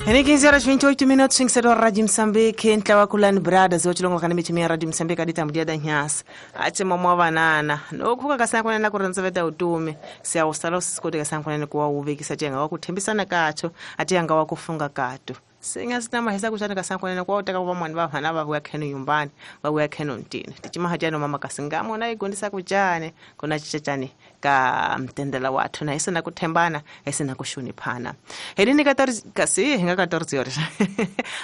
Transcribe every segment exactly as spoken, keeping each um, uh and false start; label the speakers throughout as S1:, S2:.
S1: Ene quinze horas vinte e oito minutos, cinco seis Rádio Moçambique, ntlawa kulani brothers ochilongo kana michimi ya Rádio Moçambique adita mudia da nyasa. Ache mama banana. Nokhuka kasana na kuranzaveta utumi. Siya usala sikote kasana na kuwa uvekisa jenga wakuthembisana kacho, ati anga wakufunga kato. Singa sina hesa kushana kasana na kwa utaka kwa mwana baba na babu khenu nyumbani, babu khenu ntini. Tichima hajano mama kasingamo na igondisa kuchane, kona chichachane ka mtendela watu na isina kuthembana, isina kushuniphana. Helini catorze kasi hinga catorze horas.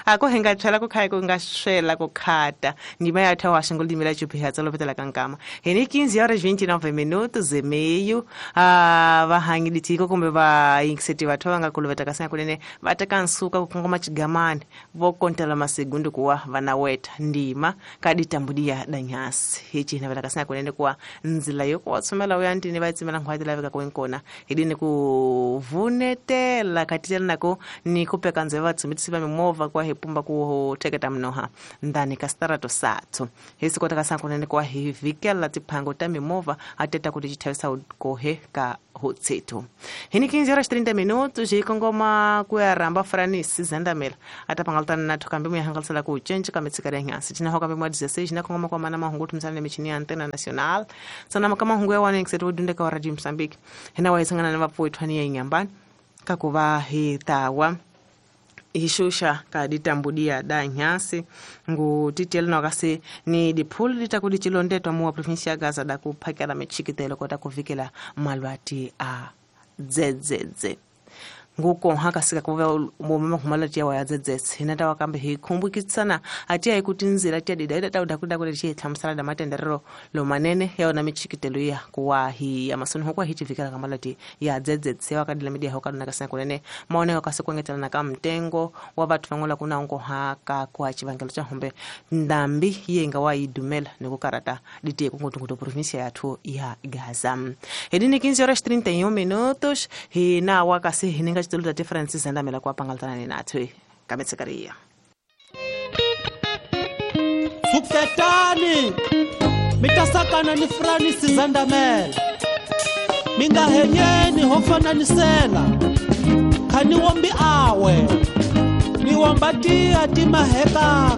S1: Ako hinga tshela ku khai ku nga swela ku khata. Ndima ya thawa xingolimi la chupi ha tsalo petela kankama. Hini quinze horas vinte e nove minutos e meio. Ah vahangi ditiko kumbe va inkseti vathu va nga kuluveta kasana kunene va teka nsuka ku kongoma chigamani vo kontela masegundo kuwa vanaweta ndima kaditambudia danyasi. Hichi na vela kasana kunene kuwa nzila yoko watsomela uyantini va tsimela nghwati laveka kwenkona hidini ku vunetela katitela nako ni kupeka nzeva tsumitisi va mimovha kwa hipumba ku theketa mnoha ndani ka starato satso hisi kota kasana kunene kuwa hi vikela tiphango ta mimovha ateta kuti chithavisa kohe ka hotseto. Hini quinze horas trinta minutos hi kongoma ku ya ramba Francis Zandamela atapangaltana na thokambi mu hangalisela ku change ka mitsikari ya nyasi tina hokambi mwa dezesseis na kongoma kwa mana mahungu tumsana michini ya antena nacional sana makama hungu ya wana ngiseto dundeka wa Radio Mozambique hina wa isangana na vapo itwani ya nyambani kakuva hi tawa ishusha kaditambudia da nyasi ngu titelo na kasi ni diphulu litakudi chilondetwa muwa provinsia ya Gaza da kuphakela michikitelo kota kuvikela malwati a dzedzedze nguko haka sika kuva mama humalati ya dzedzedze hinata wakambe hi khumbukitsana ati ayikuti nzira tia dida ida tauda kuda kuti chi hlamusela da matenderero lo manene ya ona michikitelo ya kuwa hi amasoni hokwa hi chivikela kamalati ya dzedzedze wakadila media hokaduna kasina kunene maoneko kasikuengetela na kamtengo wa vathu vangola kuna ngo haka kwa chivangelo cha hombe ndambi yenga wa idumela nikukarata ditie kungutungutu provincia yathu ya Gaza. Hedini quinze horas trinta e um minutos hina wakasi hininga chitulu ta Francis Zandamela kwa pangaltana ni nathu kametsekaria.
S2: Fuketani mitasakana ni Francis Zandamela minga henyeni hofananisela khani wombi awe ni wambatia timaheka.